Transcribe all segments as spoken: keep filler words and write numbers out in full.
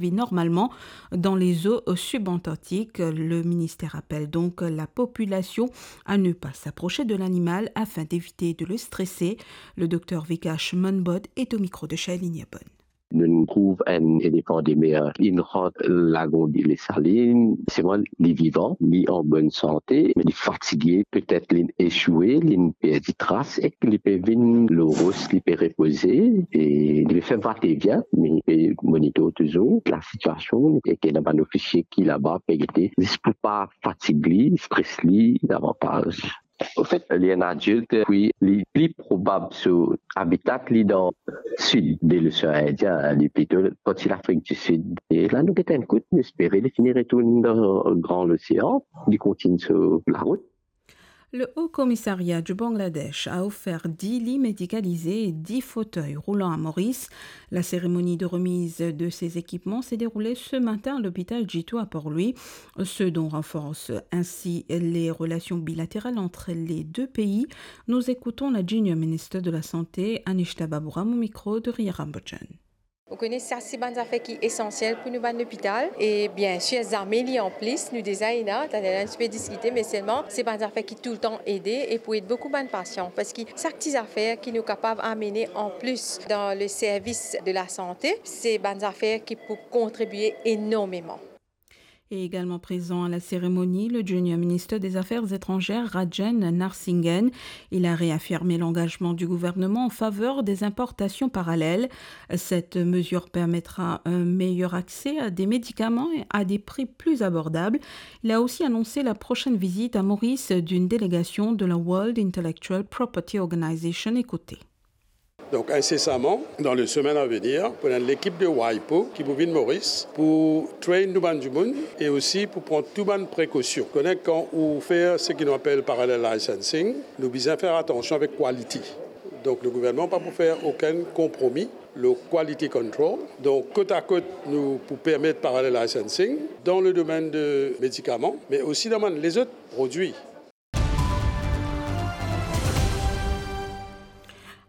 vit normalement dans les eaux subantarctiques. Le ministère appelle donc la population à ne pas s'approcher de l'animal afin d'éviter de le stresser. Le docteur Vikash Manbod est au micro de Shailene Yabon. Nou trouv enn elefan de mer, li rant lagon de Desalin, selman li vivan, li an bonn sante, me li fatige, petet li esoue, li perdi tras, ek li pe vinn lor ros, li pe repoze, e li pe fer vate vien, me li pe monitor touzour lasitiasion, e ki ena bann ofisie ki laba pe gete, zis pou pa fatig li, stres li davantaz. Anfet, li enn adilt, wi, li pli probab so abita li dan sid de losean Indien, li plito parti Lafrik di Sid. E la nou get enn kout, nou espere li fini retourn dan Gran Losean, li kontign so larout. Le Haut Commissariat du Bangladesh a offert dix lits médicalisés et dix fauteuils roulants à Maurice. La cérémonie de remise de ces équipements s'est déroulée ce matin à l'hôpital Jitu à Port-Louis, ce don renforce ainsi les relations bilatérales entre les deux pays. Nous écoutons la Junior Minister de la Santé, Anishta Babooram, au micro de Ria Rambojan. Ou kone sa, se bann zafer ki esansiel pou nou bann lopital. E biensir, zame li anplis, nou deza ena, taler nou ti pe diskite, me selman, se bann zafer ki toultan ede e pou ed boukou bann pasian. Parski sak ti zafer ki nou kapav amene anplis dan le servis de lasante, se bann zafer ki pou kontribie enormeman. Et également présent à la cérémonie, le Junior Ministre des Affaires étrangères, Rajen Narasimhan. Il a réaffirmé l'engagement du gouvernement en faveur des importations parallèles. Cette mesure permettra un meilleur accès à des médicaments à des prix plus abordables. Il a aussi annoncé la prochaine visite à Maurice d'une délégation de la World Intellectual Property Organization. Écoutez. Donk, insesaman, dan le semenn a venir, pou ena enn lekip de WIPO ki pou vinn Moris pou train nou bann dimoun e osi pou pran tou bann prekosion. Kone kan ou fer seki nou apel parallel licensing, nou bizin fer atansion avek quality. Donk, le gouvernman pa pou fer okenn konpromi lor quality control. Donk, kot a kot, nou pou permet parallel licensing dan le domenn de medikaman, me osi dan bann lezot prodwi.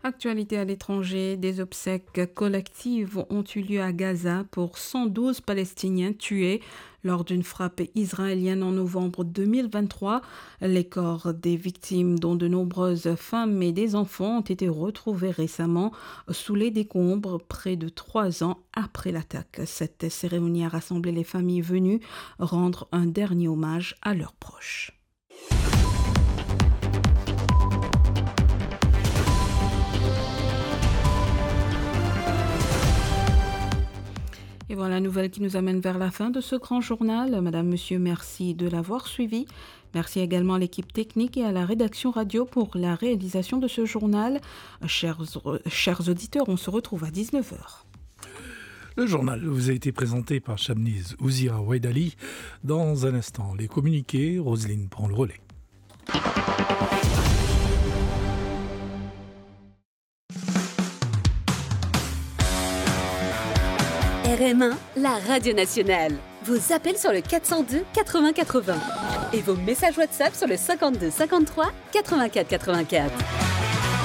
Actualité à l'étranger, des obsèques collectives ont eu lieu à Gaza pour cent douze Palestiniens tués lors d'une frappe israélienne en novembre deux mille vingt-trois. Les corps des victimes, dont de nombreuses femmes et des enfants, ont été retrouvés récemment sous les décombres, près de trois ans après l'attaque. Cette cérémonie a rassemblé les familles venues rendre un dernier hommage à leurs proches. Et voilà la nouvelle qui nous amène vers la fin de ce grand journal. Madame, monsieur, merci de l'avoir suivi. Merci également à l'équipe technique et à la rédaction radio pour la réalisation de ce journal. Chers, chers auditeurs, on se retrouve à dix-neuf heures. Le journal vous a été présenté par Shamniz Ouzia Waidali. Dans un instant, les communiqués, Roselyne prend le relais. R M un, la radio nationale. Vos appels sur le quatre cent deux quatre-vingts quatre-vingts et vos messages WhatsApp sur le cinquante-deux cinquante-trois quatre-vingt-quatre quatre-vingt-quatre.